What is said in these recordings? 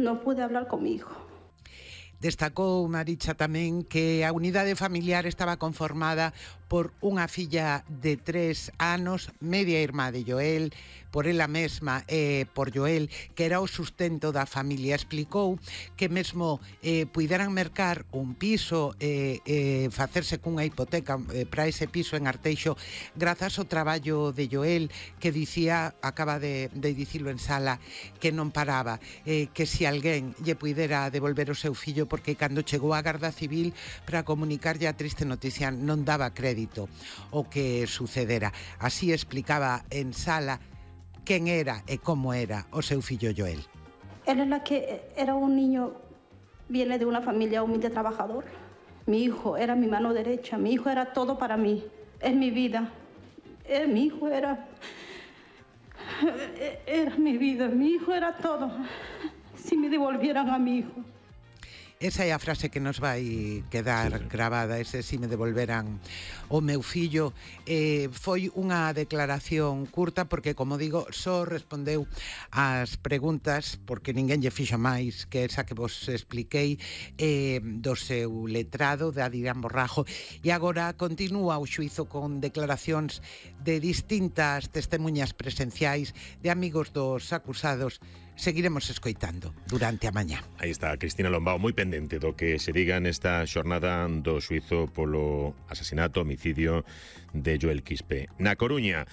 no pude hablar con mi hijo. Destacou Maricha tamén que a unidade familiar estaba conformada por unha filla de 3 anos, media irmá de Joel, por ela mesma e por Joel, que era o sustento da familia. Explicou que mesmo puideran mercar un piso e facerse cunha hipoteca para ese piso en Arteixo grazas ao traballo de Joel, que dicía, acaba de dicilo en sala, que non paraba, que se alguén lle puidera devolver o seu fillo, porque cando chegou a Garda Civil para comunicarlle a triste noticia non daba crédito o que sucedera. Así explicaba en sala quen era e como era o seu fillo Joel. Él era un niño, viene de una familia humilde trabajador. Mi hijo era mi mano derecha, mi hijo era todo para mí, es mi vida. Mi hijo era mi vida, mi hijo era todo. Si me devolvieran a mi hijo. Esa é a frase que nos vai quedar gravada, ese si me devolveran o meu fillo. Foi unha declaración curta porque, como digo, só respondeu ás preguntas, porque ninguén lle fixo máis que esa que vos expliquei do seu letrado, de Adrián Borrajo, e agora continúa o xuízo con declaracións de distintas testemunhas presenciais de amigos dos acusados. Seguiremos escoitando durante a mañá. Aí está Cristina Lombao, moi pendente do que se diga nesta xornada do xuízo polo asasinato, homicidio de Joel Quispe. Na Coruña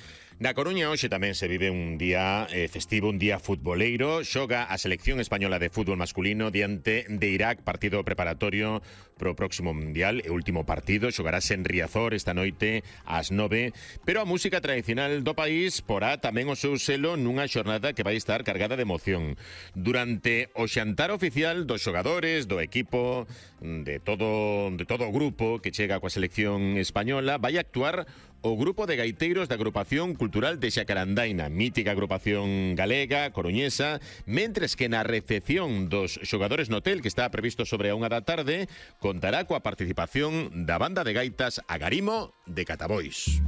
hoxe tamén se vive un día festivo, un día futboleiro. Xoga a selección española de fútbol masculino diante de Irak, partido preparatorio pro próximo mundial e último partido. Xogarase en Riazor esta noite ás 9, pero a música tradicional do país porá tamén o seu selo nunha xornada que vai estar cargada de emoción. Durante o xantar oficial dos xogadores, do equipo, de todo o grupo que chega coa selección española, vai actuar o grupo de gaiteiros da Agrupación Cultural de Xacarandaina, mítica agrupación galega, coruñesa, mentres que na recepción dos xogadores no hotel, que está previsto sobre a 1 da tarde, contará coa participación da banda de gaitas Agarimo de Catabois.